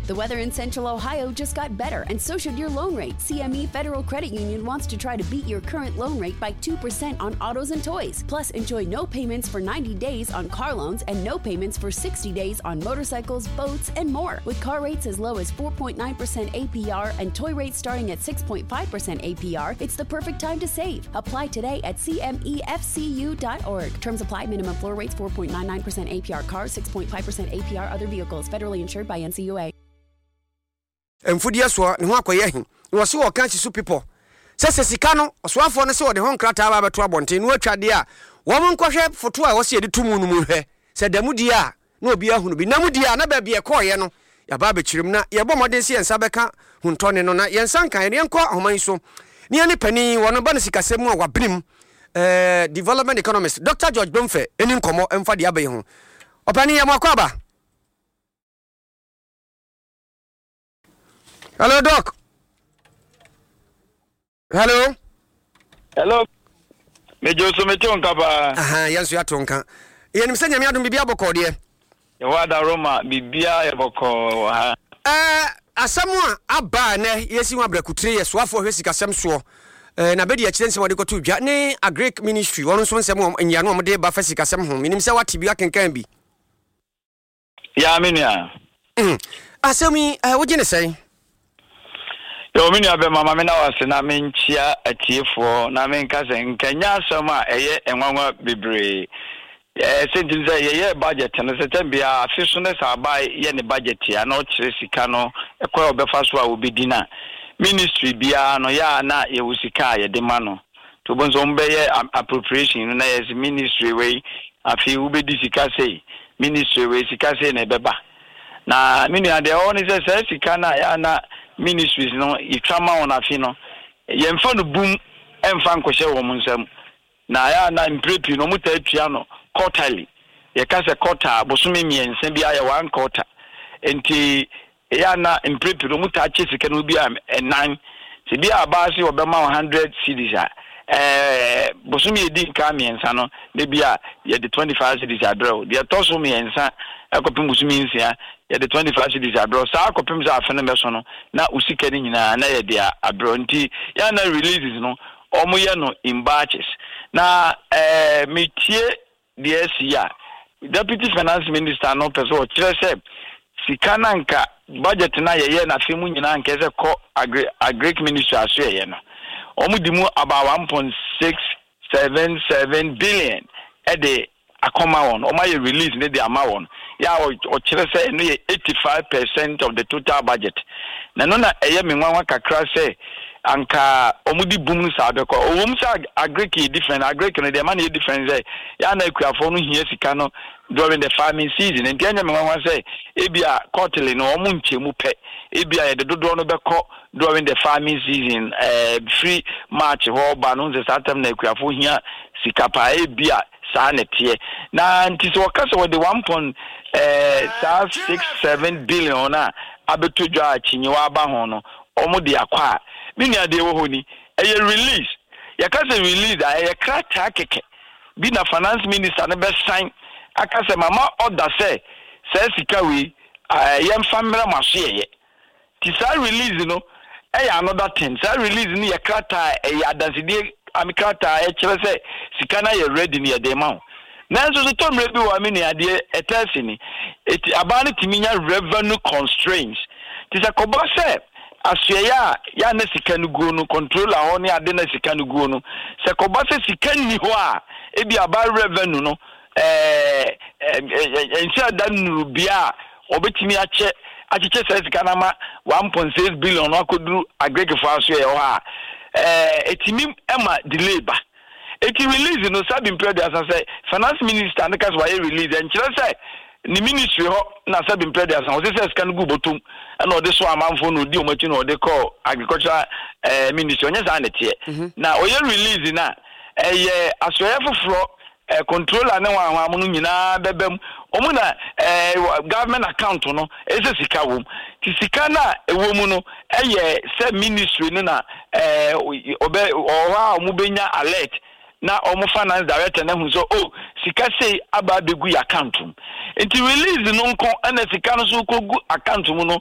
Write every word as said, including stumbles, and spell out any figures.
The weather in Central Ohio just got better, and so should your loan rate. C M E Federal Credit Union wants to try to beat your current loan rate by two percent on autos and toys. Plus, enjoy no payments for ninety days on car loans and no payments for sixty days on motorcycles, boats, and more. With car rates as low as four point nine percent A P R and toy rates starting at six point five percent A P R, it's the perfect time to save. Apply today at C M E F C U dot org. Terms apply. Minimum floor rates four point nine nine percent A P R cars, six point five percent A P R other vehicles. Federally insured by N C U A. Mfudeɛ soɔ ne ho akɔyɛ he na wɔse wɔka si so pepɔ sɛ sɛ sika no ɔsoafoɔ no sɛ wɔde ho nkrataa ba bɛto abɔnten na wɔatwa deɛ a wɔn nkɔhwɛ foto a wɔsɛ yɛde to mu no mu hwɛ sɛ da mu die a na obi ahunu bi na mu die a na baabi ɛkɔɔyɛ no yɛaba abɛkyerɛ mu na yɛbɔ mmɔden sɛ yɛn nsa bɛka huntɔne no na yɛn nsa nka yɛn. Yɛnkɔ ahoma yi so ne yɛne panin wɔno ba no sikasɛm mu a wabenem eh, development economist Doctor George Bomfɛ ɛni nkɔmmɔ ɛmfa deɛ aba yi ho. Ɔpanin, yɛ mo akɔ aba. Hello, Doc. Hello. Hello. Mejo so, mete wo nka paa. Aha, yɛn nso yɛato nka. Yɛnim sɛ Nyame adom biribi abɔkɔɔ deɛ. Yɛwɔ adaroma, biribiara yɛ bɔkɔɔ wɔ ha. Ɛɛ, asɛm a aba a nɛ yɛsi ho abrɛkutire yɛ soafoɔ hwɛ sikasɛm soɔ ɛɛ na bɛdi akyerɛ nsɛm a wɔde kɔto dwa ne Agric Ministry wɔn nso nsɛm a nyiano a wɔde ba fa sikasɛm ho. Menim sɛ wate bi, akenkan bi. Ya, me nua. Mm. Asɛm yi ɛɛ wogye ne sɛn? Yɛwɔ me nua bɛma ma me na wase na menkyia atiefoɔ na menka sɛ nkanya asɛm a ɛyɛ nwanwa bebree. Ɛɛ sɛ nti sɛ yɛyɛ budget no sɛ tɛm biara afe so ne sɛ aba yɛ ne budget a na ɔkyerɛ sika no ɛkwan a ɔbɛfa so a wɔbɛdi no a ministry biara no yɛ a na yɛwɔ sika a yɛde ma no nti wobɛhu sɛ wɔbɛyɛ appropriation no na yɛ sɛ ministry wei afei wobɛdi sika sei, ministry wei sika sei na ɛbɛba. Na me nua, deɛ ɛwɔ ne sɛ saa sika no a yɛ na ministries no yɛtwa ma wɔn afe no, yɛmfa no bum ɛmfa nkɔhyɛ wɔn nsam na yɛ na mpere pii no wɔn taa tua no quarterly. Yɛka sɛ quarter, bosome mmiɛnsa bi ayɛ one quarter, nti ɛyɛ na mpere pii no wɔn taa kyɛ sika no bi a ɛnan sɛ bi a abaa se wɔbɛma wɔn hundred cedis a, ɛɛ bosome yɛdi nka mmiɛnsa no ne bi a yɛde twenty five cedis abrɛ wo. Deɛ ɛtɔ so mmiɛnsa ɛkɔpem bosome nsia, yɛde twenty five cedis abrɛ wo. Saa akɔpem sɛ afe no bɛso no na wo sika no nyinaa na yɛde abrɛ wo. Nti yɛn na releases no wɔn yɛ no in batches. Na ɛɛ metie deɛ asi a Deputy Finance Minister no pɛ sɛ ɔkyerɛ sɛ sika na nka budget na yɛyɛ n'afe mu nyinaa nka sɛ kɔ agri agric Ministry aso yɛyɛ no, wɔn di mu about one point six seven seven billion ɛde akɔma wɔn. Wɔn ayɛ release ne de ama wɔn yɛ a ɔkyerɛ sɛ ɛno yɛ eighty five percent of the total budget. Na ɛno na ɛyɛ me nwanwa kakra sɛ anka wɔn di boom no saa bɛkɔ. Owó sɛ agric yɛ different. Agric no deɛ ɛma no yɛ different sɛ yɛa na akuafoɔ no hia sika no during the farming season, nti ɛnyɛ me nwanwa sɛ ebi a quarterly no wɔn nkyɛn mu pɛ, ebi a yɛde dodoɔ no bɛkɔ during the farming season, ɛɛ firi March hɔ ba no, nsɛ saa time na akuafoɔ hia sika paa. Ebi a saa na ɛteɛ na nti sɛ wɔka sɛ wɔde one point ɛɛ saa six seven billion a abɛto dwa a kyinyewa aba ho no wɔn de akɔ a, me nua, deɛ ɛwɔ hɔ ni, ɛyɛ release. Yɛka sɛ release a, ɛyɛ krataa kɛkɛ bi na Finance Minister no bɛsan aka sɛ mama ɔda sɛ saa sika wei ɛɛ yɛmfa mmerɛ mo aso yɛyɛ. Ti saa release no ɛyɛ another thing. Saa release no yɛ krataa, ɛyɛ adansidie ami krataa ɛkyerɛ sɛ sika no ayɛ ready no yɛde ma wo. Nanso so tɔ mmerɛ bi wɔ ame nua, adeɛ ɛtɛ si ni eti abaa no tumi nya revenue constraints ti sɛ kɔba sɛ asoɛyɛ a yɛa na sika no guo no, controller hɔ ne ade na sika no guo no, sɛ kɔba sɛ sika nni hɔ a, ebi aba revenue no ɛɛ ɛɛ nhyɛ da nnuru bea a wɔbɛtumi akyɛ akyekyɛ saa sika no ama one point six billion no akɔduru agrikfoɔ aso yɛ hɔ a, ɛɛ etimi ɛma delay ba. Eti release no, sabi mpɛ aduasa sɛ Finance Minister no ka sɛ wayɛ release, ɛnkyerɛ sɛ ne ministry hɔ na sabi mpɛ aduasa ɔsɛ sɛ sika no gu bɔtɔm ɛna ɔde so amanfo na odi wɔn akyi na ɔde kɔ Agricultural ɛɛ Ministry. Ɔnyɛ saa na ɛteɛ. Na ɔyɛ release na ɛyɛ asoɛyɛ foforɔ, ɛɛ controller ne wɔn ahɔn no nyinaa bɛbɛ mu, wɔn na ɛɛ government account no ɛsɛ sika wɔ mu. Ti sika no a ɛwɔ mu no ɛyɛ sɛ ministry no na ɛɛ ɔbɛ ɔwɔ hɔ a wɔn bɛnya alert na wɔn finance director na hu sɛ, oh, sika sei aba abɛgu yɛ account mu. Nti release no nko ɛna sika no so kɔgu account mu no.